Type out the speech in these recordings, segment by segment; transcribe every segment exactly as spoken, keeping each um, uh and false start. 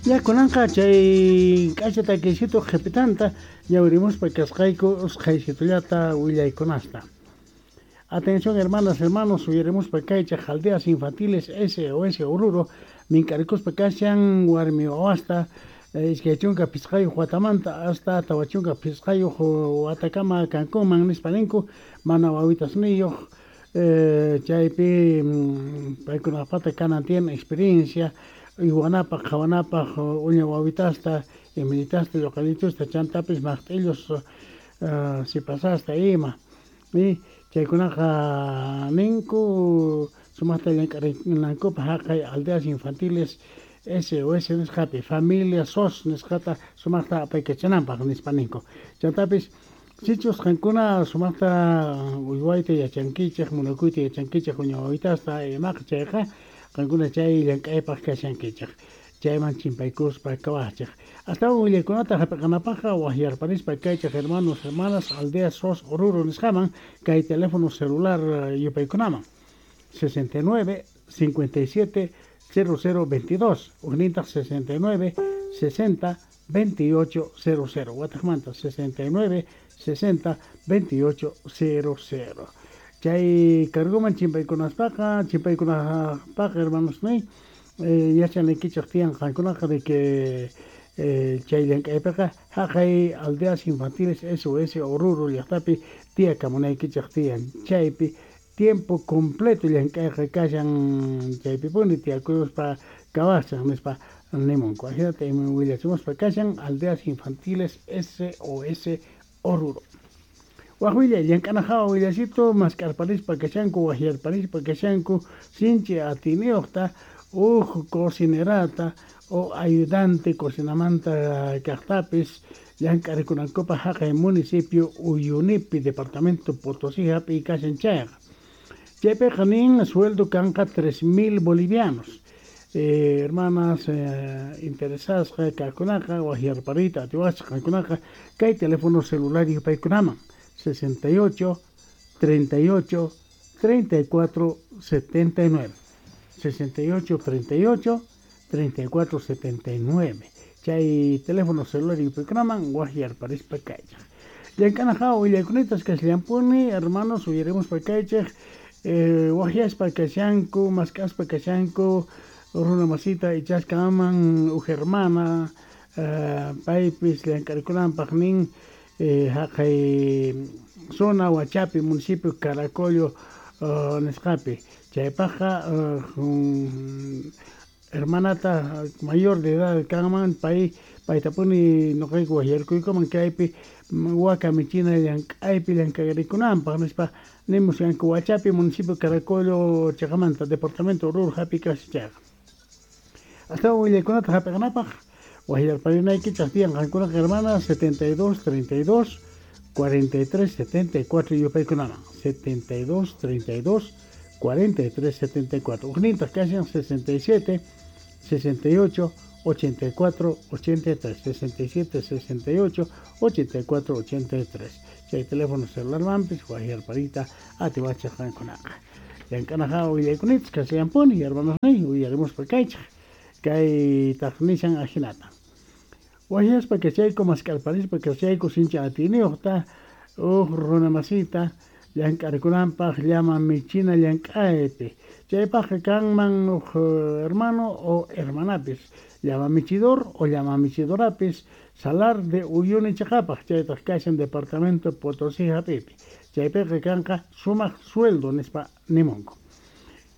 Ya kunanqa chay k'acha takiysitu qhipitanta ñawirimuspa kasqayku usqhaysitullata willaykunasta. Atención, hermanas, hermanos, uyarimuspa kaychaj Aldeas Infantiles S O S Oruro mink'arikuspa kashan warmi wawasta iskay chunka phisqayuq watamanta hasta tawa chunka phisqayuq watakama kankuman nispa ninku, mana wawitasniyuq, chaypi paykunapata kanan tiyan experiencia uywanapaq, qhawanapaq uña wawitasta, imillitasta, lluqallitusta, chantapis maqt'illus sipasasta ima. Chaykunaqa ninku sumaqta llank'arinankupaq haqay Aldeas Infantiles S O S nisqapi familia S O S nisqata sumaqta apaykachananpaq nispa ninku. Chantapis sichus qankuna sumaqta uywayta yachankichej, munakuyta yachankichej uña wawitasta imaqa, chayqa qankuna chay llank'aypaq kashankichej, chayman chimpaykuspa kawajchej. Astawan willaykunata hap'iqanapaqqa waqyarparispa kaychej, hermanos, hermanas, Aldeas S O S Oruro nisqaman kay teléfono celular yupaykunaman: sesenta y nueve cincuenta y siete cero cero veintidós, ujnintaq sesenta y nueve sesenta veintiocho cero cero, wataqmanta sesenta y nueve sesenta veintiocho cero cero. Chay cargoman chimpaykunaspaqa, chimpaykunapaq, hermanos, nay yachanaykichej tiyan qankunaqa de que chay llank'aypiqa haqay Aldeas Infantiles S O S Oruro llaqtapi tiyakamunaykichej tiyan, chaypi tiempo completo llank'ayqa kashan, chaypipuni tiyakuspa kawashan nispa nimunku. Ajinata willachimuspa kashan Aldeas Infantiles S O S Oruro. Waj willay, llank'ana hawa willasito, mask'arparispa kashanku, waqyarparispa kashanku sinchi atiyniyuqta uj cocinerata o ayudante cocinamanta kaqtapis llank'arikunankupaq haqay municipio Uyunipi, departamento Potosí hap'iy kashan chayqa. Chaypiqa nin sueldo kanqa tres mil bolivianos. Eh, hermanas eh, interesadas kaqkunaqa waqyarpariyta atiwachaq qankunaqa kay teléfono celular yupaykunaman: sesenta y ocho treinta y ocho treinta y cuatro setenta y nueve, sesenta y ocho treinta y ocho treinta y cuatro setenta y nueve. Chay teléfono celular yupaykunaman waqyarparispa kaychaj. Llank'ana hawa willaykunatas kasllampuni, hermanos, uyarimuspa kaychej, eh, waqyaspa kashanku, mask'aspa kashanku runa masita ichasqaman uj hermana eh, paypis llank'arikunanpaq nin eh, haqay zona Huachapi, municipio Caracollo uh, nisqapi. Chaypaqqa uh, hermanata mayor de edad kanman pay, paytapuni nuqayku waqyarkuykuman kaypi waka michina llank'aypi llank'arikunanpaq nispa nimusqanku Huachapi, municipio Caracollo chaqamanta, departamento Oruro hapi kashan chayqa. Astawan willaykunata hap'iqanapaq waqyarparinaykichaq tiyan qankunaqa, hermanas, setenta y dos treinta y dos cuarenta y tres setenta y cuatro yupaykunaman: setenta y dos treinta y dos cuarenta y tres setenta y cuatro. Ujnintaq kashan sesenta y siete sesenta y ocho ochenta y cuatro ochenta y tres, sesenta y siete sesenta y ocho ochenta y cuatro ochenta y tres. Chay teléfono celular mampis waqyarpariyta atiwachaq qankunaqa. Llank'ana hawa willaykunachis kasllampuni, hermanos, uyarimuspa kaychaj kaytaq nishan ajinata: waqyaspa kachayku, mask'arparispa kachayku sinchi atiyniyuqta uj runa masita llank'arikunanpaq llama michina llank'aypi. Chaypaqqa kanman uj hermano o hermanapis, llama michidor o llama michidorapis, Salar de Uyuni chaqapaq, chaytaq kashan departamento Potosí hap'ipi. Chaypiqa kanqa sumaq sueldo nispa nimunku.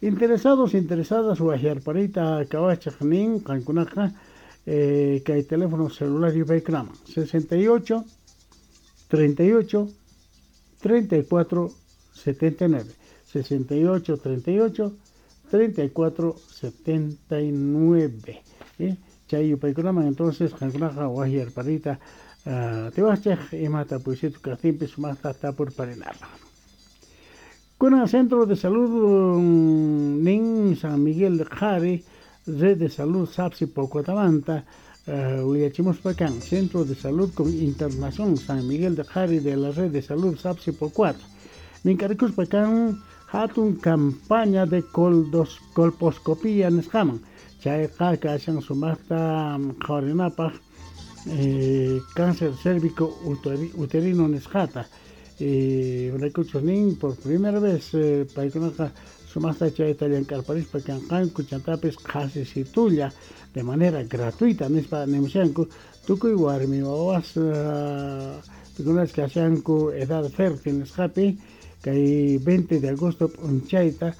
Interesados, interesadas, waqyarpariyta kawachaq nin qankunaqa eh, kay teléfono celular yupaykunaman: sesenta y ocho treinta y ocho treinta y cuatro setenta y nueve, sesenta y ocho treinta y ocho treinta y cuatro setenta y nueve, ¿eh? Chay yupaykunaman entonces qankunaqa waqyarpariyta uh, atiwachaq imata puysitu kaqtinpis sumaqta tapurparinapaq. Kunan Centro de Salud nin San Miguel de Qhari, Red de Salud Sapsi Pocuatamanta, uh, willachimuspa kan Centro de Salud con Internación San Miguel de Qhari de la Red de Salud Sapsi Pocuata mink'arikuspa kan hatun campaña de coldos, colposcopía nisqaman. Chayqa kashan sumaqta qhawarinapaq eh, cáncer cérvico uterino nisqata. Imaraykuchus nin por primera vez eh, paykunaqa sumaqta chayta llank'arparispa kanqanku chantapis qhasisitulla de manera gratuita nispa nimushanku tukuy warmi wawas uh, pikunas kashanku edad fértil nisqapi kay veinte de agosto p'unchayta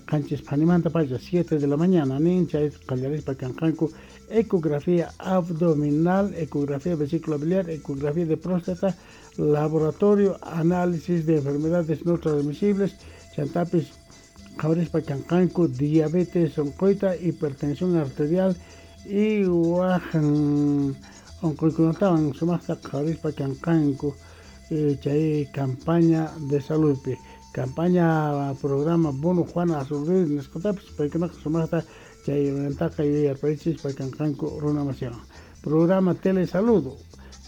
qanchis phanimanta pacha siete de la mañana nin chay qallarispa kanqanku ecografía abdominal, ecografía vesícula biliar, ecografía de próstata, laboratorio, análisis de enfermedades no transmisibles, chantapis qhawarispa kanqanku diabetes onqoyta, hipertensión arterial y waj onqoykunatawan sumaqta qhawarispa kanqanku chay campaña de saludpi. Campaña programa Bono Juana Azurduy nisqatapis paykunaqa sumaqta chay mantaqa yuyarparichispa kanqanku runa masiwan. Programa Telesalud,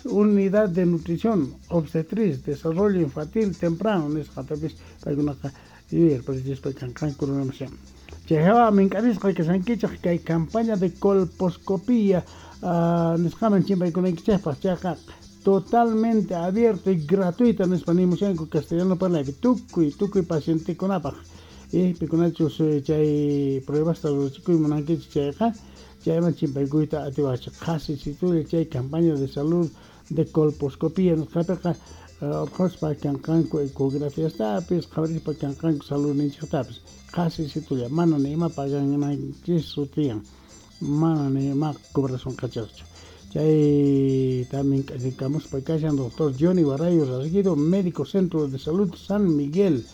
Unidad de Nutrición, Obstetriz, Desarrollo Infantil Temprano nisqatapis paykunaqa yuyarparichispa kanqanku runa masiwan. Chay hawa mink'arisqa kashankichej kay campaña de colposcopía uh, nisqaman chimpaykunaykichejpaq chayqa totalmente abierto y gratuita nispa nimushanku castellano parlaypi tukuy tukuy pacientekunapaq y pikunachus chay pruebasta rurachikuy munankichik chayqa chayman chimpaykuyta atiwachik qhasisitulla chay campaña de salud de colposcopía nisqapiqa urqhuspa kanqanku ecografiastapis qhawarispa kanqanku saludninchiktapis qhasisitulla mana ni ima pagananchikchu tiyan mana ni ima cobrasunqachikchu. Chay también k'achikamuspa kashan doctor Johnny Barrayo Rasguido, médico Centro de Salud San Miguel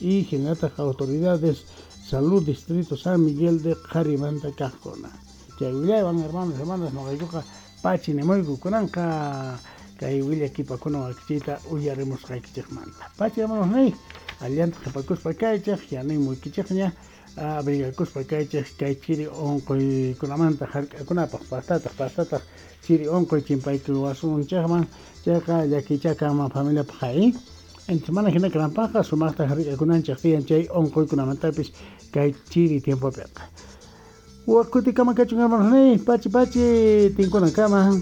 y generataq autoridades Salud Distrito San Miguel de Qharimanta kaqkuna. Chay willaywan hermanos hermanas noqaykuqa pachi nimuyku kunanqa kay willakipakuna wakichiyta uyarimusqaykichikmanta. Pachi hermanos niy, allanta qhipakuspa kaychik, yanimuykichikña abrigakuspa kaychik kay chiri unquykunamanta hark'akunapaq pastataq pastataq chiri unquy chimpaykuwasunchikman chayqa llakichá kanman familiapaq ay. Entonces mana hina kananpaqqa sumaqta hark'akunanchik tiyan chay unquykunamantapis kay chiri tiempopiqa. Wakutikama kachun hermanos niy, pachi pachi tinkunankama.